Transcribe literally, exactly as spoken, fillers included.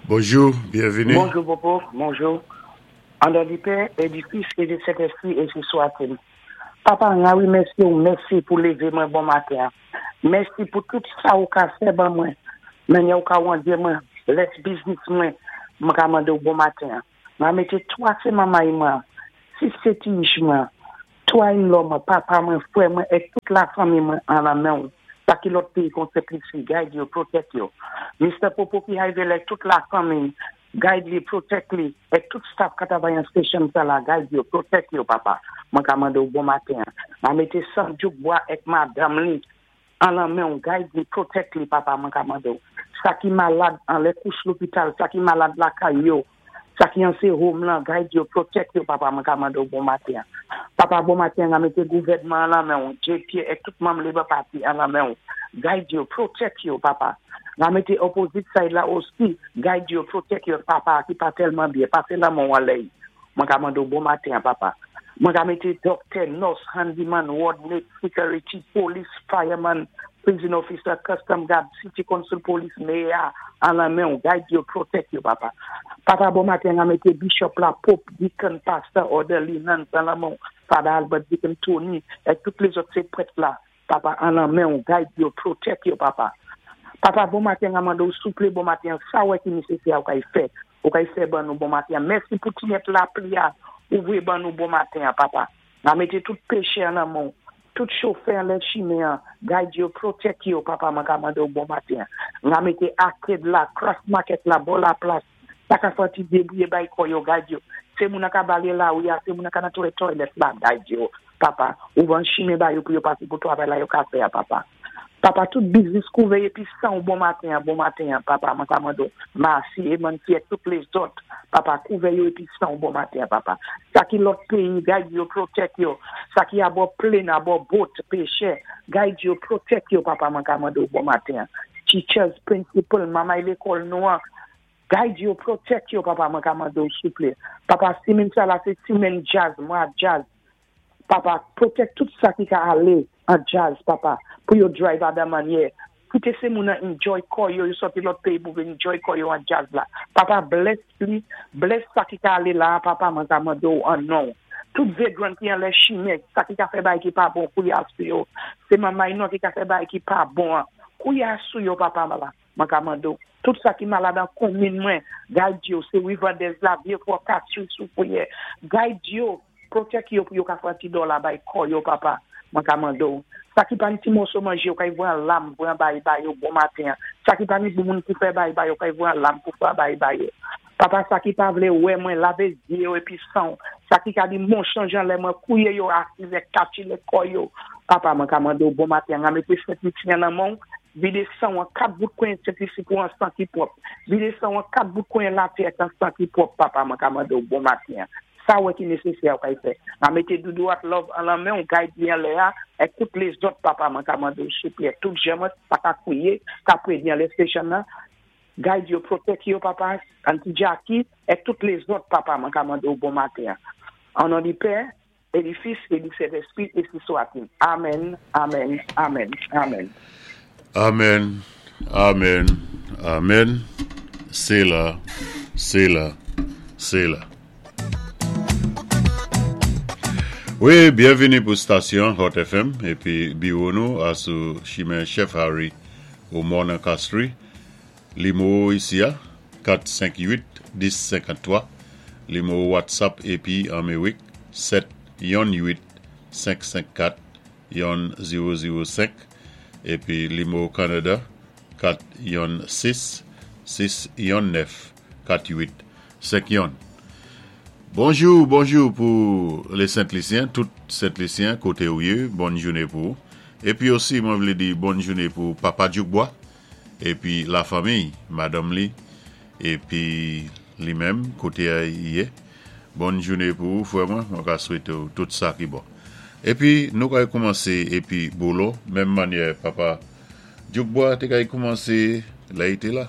Bonjou, byenvini. Bonjou, Popo. Bonjou. An non di Pè, é di Fis, é di Sentèspwi, ensi swa-t-il. Papa, wi, mèsi, mèsi pou lévé mwen bon maten. Mèsi pou tout sa ou ka fè ban mwen. Men ou ka wandé mwen, lès biznis mwen, mwen ka mandé bon maten. Mwen mété twa sé manmay mwen, sis sé ti mwen, twa in-law mwen, papa mwen, fwè mwen, é tout la fanmi mwen an la men. Sa ki lòt péyi kon Sent guide yo, protect yo. Mr. Popo ki rivé tout la fanmi, guide li, protect li, é tout staff ka twavay an station sa la, guide yo, protect yo, papa. Mwen ka mandé bon maten. Mwen mété San Bwa ek madanm li, an la men, guide li, protect li, papa, mwen ka mandé. Sa ki malad an lè kouch lopital, sa ki malad lakay yo, sa ki an sé home lan, guide yo, protect yo, papa, mwen ka mandé bon maten. Papa, bon maten, mwen mété gouvèdman an la men, JP ek tout manm Labour Party an la men, guide yo, protect yo, papa. Mwen mété opposite side la osi, guide yo, protect yo, papa, ki pa tèlman byen, pasé la men an lè. Mwen ka mandé bon maten, papa. Mwen ka mété doctor, nurse, handyman, ward mate, security, police, fireman, prison officer, custom guard, city council police, mayor, an la men, guide yo, protect yo, papa. Papa, bon maten, mwen mété bishop la, pope, deacon, pastor, orderly, nuns, an la men, Father Albert, deacon Tony, é tout lézòt sé prèt la, papa, an la men, guide yo, protect yo, papa. Papa, bon maten, mwen mandé souplé, bon maten, sa wè ki nésésè ou kay fè, ou kay fè ban nou bon maten. Mèsi pou ti nèt lapli a, ouvwi ban nou bon maten, papa. Mwen mété tout péchè an la men, tout chofè an lè chimen, guide yo, protect yo, papa, mwen ka mandé bon maten. Mwen mété arcade la, craft market la, bò la plas, sa ka fè ti débouwé bay kò yo, guide yo. Sé moun ka balé la ou ya, sé moun ka nan toilet la, guide yo, papa. Ou van chimen ba yo pou yo pasé pou twavay la yo ka fè, papa. Papa, tout biznis kouvè épi san bon maten, bon maten, papa, mwen ka mandé. Masi, e manti, tout lézòt, papa, kouvè yo épi san bon maten, papa. Sa ki lòt péyi, guide yo, protect yo. Sa ki abò plane, abò boat, péchè, guide yo, protect yo, papa, mwen ka mandé bon maten. Teachers, principal, manmay lékòl nou an, guide yo, protect yo, papa, mwen ka mandé souplé. Papa, simenn sa la, sé simenn jazz, mwa jazz. Papa, protect tout sa ki ka alé an jazz, papa, pou yo drive a dan mannyè. Kité sé moun an enjoy kò yo, yo sòti lòt péyi pou enjoy kò yo an jazz la. Papa, bless li, bless sa ki ka alé la, papa, mwen ka mandé an non. Tout vagrant ki an lè chimen, sa ki ka fè bay ki pa bon, kouya sou yo. Sé manmay nou ki ka fè bay ki pa bon, kouya sou yo, papa, mwen ka mandé. Tout sa ki malad an konmin mwen, guide yo, sé Riverdale la, Vieux-Fort, Castries, Soufrière, guide yo, protect yo pou yo ka fè ti dòla bay kò yo, papa, mwen ka mandé. Sa ki pa ni ti moso manjé, yo ka voye an lam, voye an bay bay yo, bon maten. Sa ki pa ni pou moun pou fè bay bay yo, ka voye an lam pou fè bay bay yo. Papa, sa ki pa vlé wè mwen, lavé zyé yo épi san. Sa ki ka di mon chanjan lè mwen, kouwé yo asize, kachi lè kò yo. Papa, mwen ka mandé bon maten, mwen mété Sent Lisi nan men, vidé san an kat bout kwen Sent Lisi pou an san ki pwòp. Vidé san an kat bout kwen latè an san ki pwòp, papa, mwen ka mandé bon maten. Sa wè ki nésésè ou ka fè. Mwen mété doudou at love an la men, ou guide li an lè a, é tout lézòt, papa, mwen ka mandé souplé. Tout jèmot, pa ka kouwé, ka pwé an lè station nan. Guide yo, protect yo, papa, Auntie Jackie, é tout lézòt, papa, mwen ka mandé bon maten. An non di Pè, é di Fis, é di Sentèspwi, ensi swa-t-il. Amen, amen, amen, amen. Amen, amen, amen. Séla, Séla, Séla. Wi, byenvini pou stasyon Hot FM épi biwo nou a sou chimen Chef Harry o Morne Castries. Limo isi a kat senk uit dis senkanntwa. Limo WhatsApp épi Amerik sèt yon uit senk senk kat yon zewo zewo senk épi limo Kanada kat yon sis sis yon nèf kat uit senk yon. Bonjou, bonjou pou lé Sent-Lisyen, tout Sent-Lisyen koté ou yé, bòn jounen pou. Épi osi, mwen vlé di bòn jounen pou Papa Djoukbois, épi la fanmi, madanm li, épi li menm, koté yé. Bòn jounen pou frè mwen, mwen ka swété tout sa ki bon. Épi, nou kay koumansé, épi bolo, menm mannyè, Papa Djoukbois té kay koumansé, lè i té la.